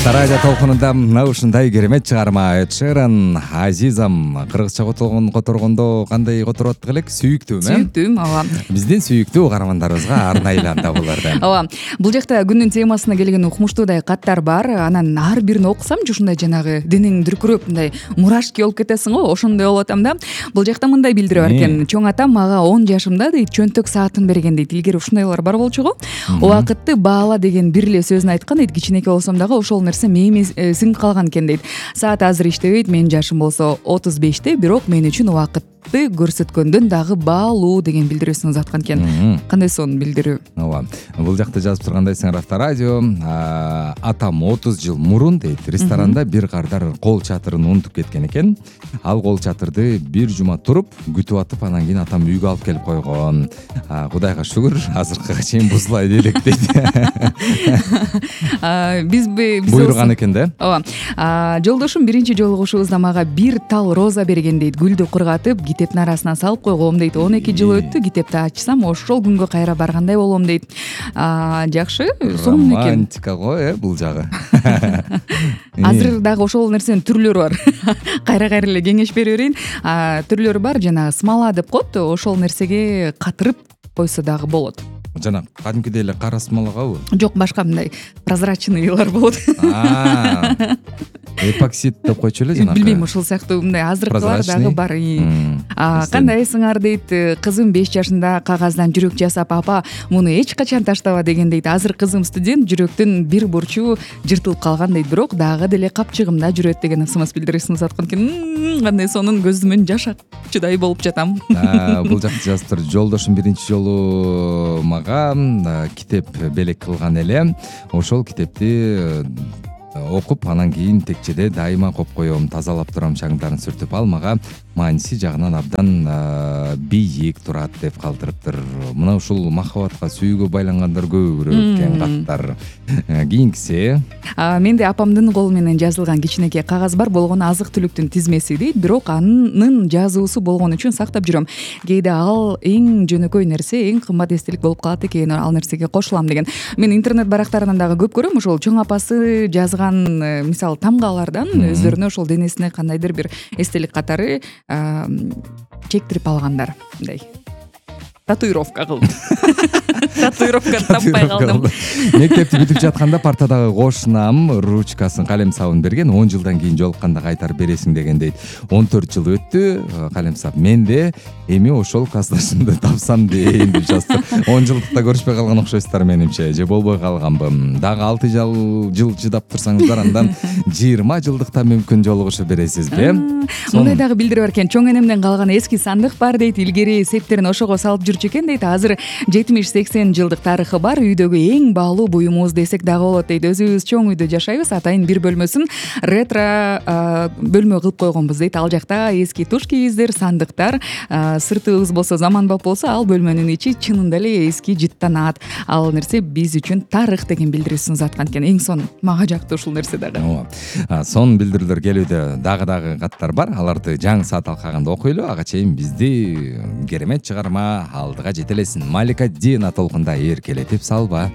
Авторадио толкунунда мына ушундай керемет чыгарма Эд Шеран Азизам кыргызча которгондо кандай которуп аттык элек? Сүйүктүүм, Сүйүктүүм, ооба. Биздин сүйүктүү угармандарыбызга арнайланды булардан. Ооба. Бул жакта күндүн темасына келген укмуштуудай каттар бар. Анан ар бирин окусам ушундай жанагы денең дүркүрөп мындай мурашки болуп кетесиң го, ошондой болуп атам да. Бул жакта мындай билдирүү бар экен. Чоң атам мага 10 жашымда дейт чөнтөк саатын берген дейт. Илгери ушундайлар бар болчу го. Убакытты баала деген бир эле сөзүн айткан дейт. Кичинекей болсом дагы ошол нерсе мээме сиңип калган экен дейт. Саат азыр иштебейт, менин жашым болсо 35те, бирок мен үчүн убакытты көрсөткөндөн дагы баалуу деген билдирүүсүн узаткан экен. Кандай сонун билдирүү. Ооба. Бул жакта жазып тургандай сиңер Авторадио, атам 30 жыл мурун дейт, ресторанда бир кардар кол чатырын унутуп кеткен экен. Ал кол чатырды бир жума туруп күтүп атып, анан кийин атам үйгө алып келип койгон. Кудайга шүгүр, азыркыга чейин бузулай элек дейт. Биз буйруган экен да. Ооба. Жолдошум биринчи жолугушубузда мага бир тал роза берген дейт. Гүлдү кургатып, китептин арасына салып койгом дейт. 12 жыл өттү, китепти ачсам, ошол күнгө кайра баргандай болом дейт. Жакшы, сонун экен. Романтика го, бул жагы. Азыр дагы ошол нерсенин түрлөрү бар. Кайра эле кеңеш бере берейин. Түрлөрү бар, жана смола деп коет, ошол нерсеге катырып койсо дагы болот. Жана кадимкидей эле кара смолагабы? Жок, башка мындай прозрачныйлар болот. Эпоксид деп койчу эле жанагы. Билбейм, ушул сыяктуу мындай азыркылар дагы бар. Кандайсыңар дейт, кызым 5 жашында кагаздан жүрөк жасап, апа, муну эч качан таштаба деген дейт. Азыр кызым студент, жүрөктүн бир бурчу жыртылып калган дейт, бирок дагы деле капчыгымда жүрөт деген ысымас билдирүүсүн узаткан экен. Кандай сонун, көзүмөн жаш акчыдай болуп жатам. Бул жакта жазып тур. Жолдошум биринчи жолу мага китеп белек кылган эле. Ошол китепти окуп, анан кийин текчеде дайыма коюп коем, тазалап турам, шаңдарын сүртүп. Ал мага мааниси жагынан абдан бийик турат деп калтырыптыр. Мына ушул махабатка, сүйүүгө байлангандар көбүрөөк экен каттар. Кийинкиси менде апамдын колу менен жазылган кичинекей кагаз бар, болгону азык-түлүктүн тизмеси дейт, бирок анын жазуусу болгон үчүн сактап жүрөм. Кээде ал эң жөнөкөй нерсе, эң кымбат эстелик болуп калат экен, ал нерсеге кошулам деген. Мен интернет барактарынан дагы көп көрөм, ошол чоң апасы жазган, мисалы, тамгалардан өздөрүнө ошол денесине кандайдыр бир эстелик катары чектирип алгандар. Мындай татуировка кылдым. Татуировка таппай калдым. Мектепти бүтүп жатканда партадагы кошунам ручкасын, калем сабын берген, 10 жылдан кийин жолукканда кайтарып бересиң деген дейт. 14 жыл өттү, калем сап менде, эми ошол классташымды тапсам дейин деп жазды. 10 жылдыкта көрүшпөй калган окшойсуздар менимче, же болбой калганбы. Дагы 6 жыл чыдап турсаңыздар, андан 20 жылдыкта мүмкүн жолугушуп бересизби? Мындай дагы билдирүү бар экен. Чоң энемден калган эски сандык бар дейт. Илгери септерин ошого салып жүрчү экен дейт. Азыр 70-80 жылдык тарыхы бар, үйдөгү эң баалуу буюмубуз десек дагы болот дейт. Өзүбүз чоң үйдө жашайбыз, атайын бир бөлмөсүн ретро бөлмө кылып койгонбуз дейт. Ал жакта эски туш кийиздер, сандыктар, сыртыбыз болсо заманбап болсо, ал бөлмөнүн ичи чынында эле эски жыттанат. Ал нерсе биз үчүн тарых деген билдирүүсүн узаткан экен. Эң сонун, мага жакты ушул нерсе дагы. Сонун билдирүүлөр келүүдө, дагы каттар бар. Аларды жаңы саат алкагында окуйлу. Ага чейин бизди керемет чыгарма алдыга жетелесин. Малика Дина толкунда эркелетип салба.